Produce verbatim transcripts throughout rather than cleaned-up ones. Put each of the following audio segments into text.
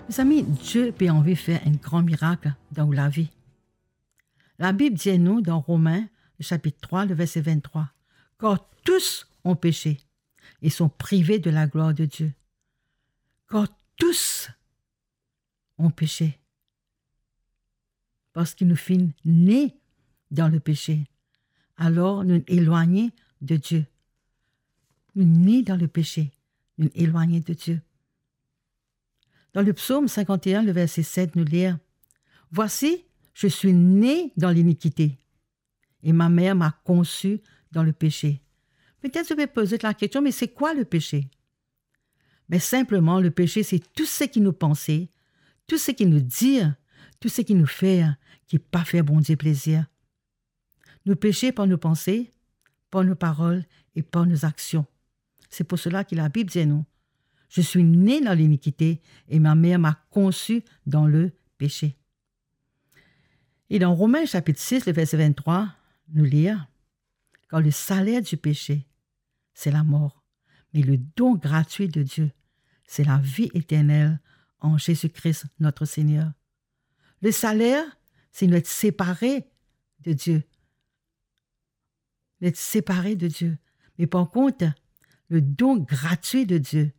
Mezami, Dieu pe anvi fer enn gran mirak dan ou lavi. Labib dir nou dan Romin, le sapit trwa, le verse venntrwa, "Car tous ont péché et sont privés de la gloire de Dieu." Car tous ont péché. Parski nou finn ne dan lepese, alor nou elwagne de Dieu. Nou ne dan lepese, nou elwagne de Dieu. Dan le psaume cinquante et un, le verset sept, nou lir, "Voici, je suis né dans l'iniquité, et ma mère m'a conçu dans le péché." Petet ou pe poz la kestion, me se kwa lepese? Me sinpleman, lepese, se tou seki nou panse, tou seki nou dir, tou seki nou fer ki pa fer Bondie plezir. Nou pese par nou panse, par nou parol e par nou aksion. Se pou sela ki Labib dir nou, "Je suis né dans l'iniquité et ma mère m'a conçu dans le péché." E dan Romin sapit sis, le verse venntrwa, nou lir, "Car le salaire du péché, c'est la mort, mais le don gratuit de Dieu, c'est la vie éternelle en Jésus-Christ notre Seigneur." Le salaire, c'est d'être séparé de Dieu. D'être séparé de Dieu. Mais par contre, le don gratuit de Dieu,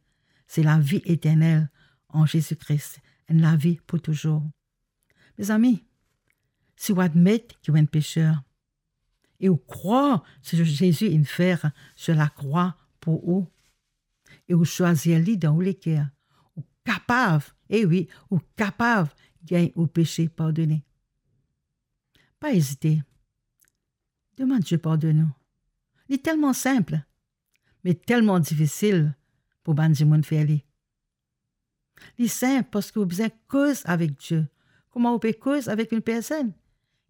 c'est la vie éternelle en Jésus-Christ. Enn lavi pou touzour. Mezami, si ou admet ki ou enn peser, e ou krwar seki Zezi inn fer sir lakrwa pou ou, e ou swazir li dan ou leker, ou kapav, e wi, ou kapav gagn ou pese pardone. Pa ezite. Demann Dieu pardonn ou. Li telman sinp, me telman difisil pou bann dimoun fer li. Li sinp parski ou bizin koz avek Dieu. Kouma ou pe koz avek enn personn?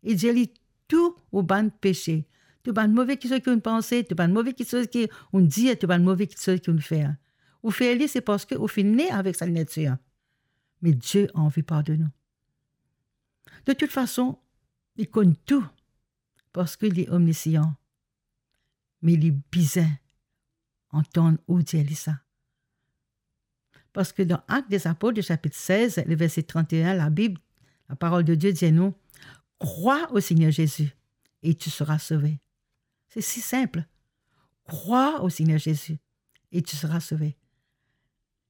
E dir li tou ou bann pese, tou bann move kiksoz ki ou panse, tou bann move kiksoz ki ou dir, tou bann move kiksoz ki ou fer. Ou fer li, se parski ou finn ne avek sa natir. Me Dieu anvi pardonn ou. De tout fason, li konn tou, parski li omnisyan. Me li bizin antann ou dir li sa. Parski dan Actes des Apôtres, sapit sez, le verset trente et un, Labib, laparol de Dieu dir nou, "Crois au Seigneur Jésus et tu seras sauvé." Se si sinp. Crois au Seigneur Jésus et tu seras sauvé.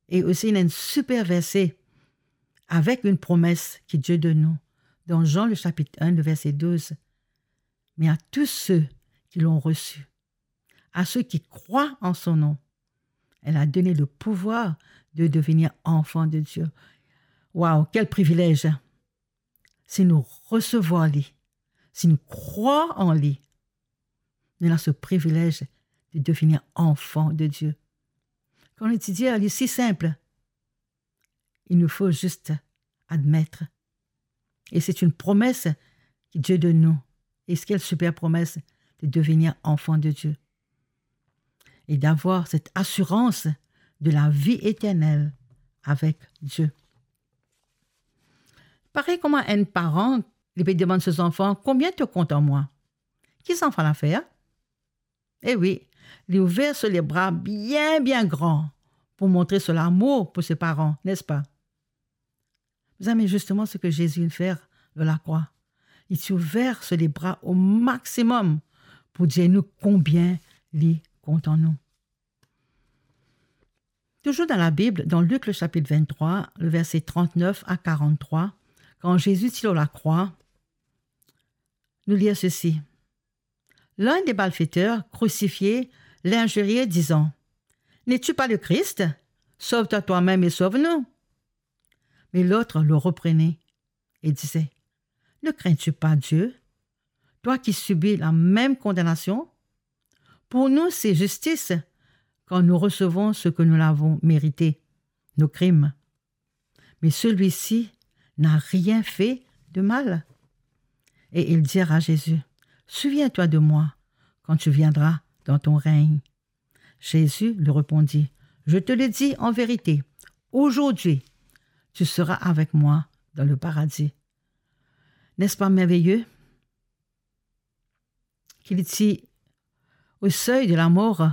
E osi, ena enn siper verse avek enn promes ki Dieu donn nou dan Jean, le sapit enn, le verset douze. "Mais à tous ceux qui l'ont reçu, à ceux qui croient en son nom, elle a donné le pouvoir de devenir enfants de Dieu." Waw, kel privilez! Si nou resevwar li, si nou krwar an li, nou ena se privilez de devenir enfant de Dieu. Kan nou ti dir, li si sinp, il nous faut juste admettre. Et c'est une promesse que Dieu donne nous. Et quelle super promesse de devenir enfant de Dieu. Et d'avoir cette assurance de la vie éternelle avec Dieu. Parey kouma enn paran, li pe demann so zanfan, "Konbien to kontan mwa?" Ki zanfan la fer? E wi, li ouver so lebra bien, bien gran pou montre so lamour pou so paran, nespa? Mezami, zisteman seki Zezi inn fer lor lakrwa. Li ti ouver so lebra o maximum pou dir nou konbien li kontan nou. Touzour dan Labib, dan Lik, le sapit venntrwa, le verse trantnef a karanntrwa, kan Zezi ti lor lakrwa, nou lir sesi. L'un des malfaiteurs crucifiés l'injuriait, disant, "N'es-tu pas le Christ? Sauve-toi toi-même et sauve-nous." Mais l'autre le reprenait et disait, "Ne crains-tu pas Dieu, toi qui subis la même condamnation? Pour nous, c'est justice quand nous recevons ce que nous avons mérité, nos crimes. Mais celui-ci n'a rien fait de mal." Et il dit à Jésus, "Souviens-toi de moi quand tu viendras dans ton règne." Jésus lui répondit, "Je te le dis en vérité, aujourd'hui, tu seras avec moi dans le paradis." N'est-ce pas merveilleux? Ki li ti o sey de lamor,